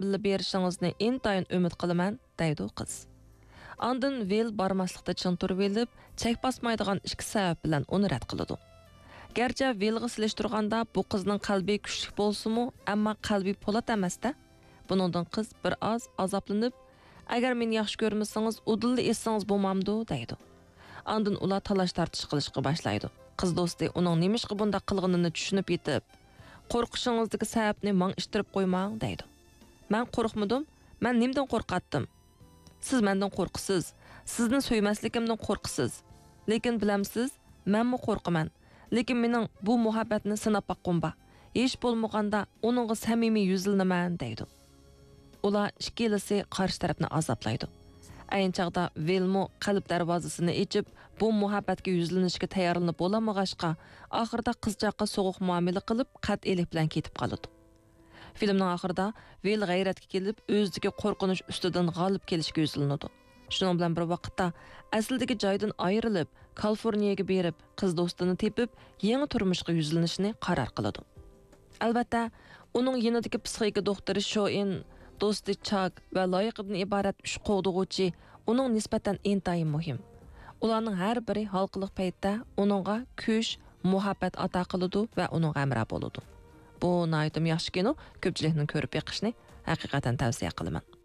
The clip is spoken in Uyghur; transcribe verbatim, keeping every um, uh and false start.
بىللە بېرىشىڭىزنى ئىنتايىن ئۈمىد قىلىمەن، دەيدۇ قىز. ئاندىن ۋىل بارماسلىقتا چىڭ تۇرۇۋېلىپ، چەك باسمايدىغان ئىككى سەۋەب بىلەن ئۇنى رەت قىلىدۇ. گەرچە ۋىلغا سېلىشتۇرغاندا بۇ قىزنىڭ قەلبى كۈچلۈك بولسىمۇ، ئەمما قەلبى پولات ئەمەس-دە. بۇنىڭدىن قىز بىر ئاز ئازابلىنىپ، «ئەگەر مېنى ياخشى كۆرمىسىڭىز، ئۇدۇللا ئېيتسىڭىز بولمامدۇ؟» دەيدۇ. ئاندىن ئۇلار تالاش-تارتىش قىلىشقا باشلايدۇ. قىز دوستى ئۇنىڭ نېمىشقا بۇنداق قىلغىنىنى چۈشىنىپ يېتىپ، «قورقۇشىڭىزدىكى سەۋەبنى ماڭا ئىتتىرىپ قويماڭ» دەيدۇ. «مەن قورقمىدىم. مەن نېمىدىن قورقاتتىم؟ سىز مەندىن قورقىسىز. سىزنى سۆيمەسلىكىمدىن قورقىسىز. لېكىن بىلەمسىز، مەنمۇ قورقىمەن. لېكىن مېنىڭ بۇ مۇھەببەتنى سىناپ باققۇم بار. ھېچ بولمىغاندا ئۇنىڭغا سەمىمىي يۈزلىنىمەن» دەيدۇ. ئۇلار ئىككىلىسى قارشى تەرەپنى ئازابلايدۇ. ئەينى چاغدا ۋىلمۇ قەلب دەرۋازىسىنى ئېچىپ، بۇ مۇھەببەتكە يۈزلىنىشكە تەييارلىنىپ بولالمىغاچقا، ئاخىرىدا قىزچاققا سوغۇق مۇئامىلە قىلىپ، قەتئىيلىك بىلەن كېتىپ قالىدۇ. فىلىمنىڭ ئاخىرىدا ۋىل غەيرەتكە كېلىپ، ئۆزىدىكى قورقۇنچ ئۈستىدىن غالىب كېلىشكە يۈزلىنىدۇ. شۇنىڭ بىلەن بىر ۋاقىتتا، ئەسلىدىكى جايدىن ئايرىلىپ، كالىفورنىيەگە بېرىپ، قىز دوستىنى تېپىپ، يېڭى تۇرمۇشقا يۈزلىنىشنى قارار قىلىدۇ. ئەلۋەتتە، ئۇنىڭ يېنىدىكى پسىخىكا دوختۇرى شوئىن، دوستى چاك ۋە لايىقىدىن ئىبارەت ئۈچ قوغدىغۇچى ئۇنىڭ نىسبەتەن ئىنتايىن مۇھىم. ئۇلارنىڭ ھەر بىرى ھالقىلىق پەيتتە ئۇنىڭغا كۈچ، مۇھەببەت ئاتا قىلىدۇ ۋە ئۇنىڭغا ھەمراھ بولىدۇ. بۇ ناھايىتىمۇ ياخشى كىنو، كۆپچىلىكنىڭ كۆرۈپ بېقىشىنى ھەقىقەتەن تەۋسىيە قىلىمەن.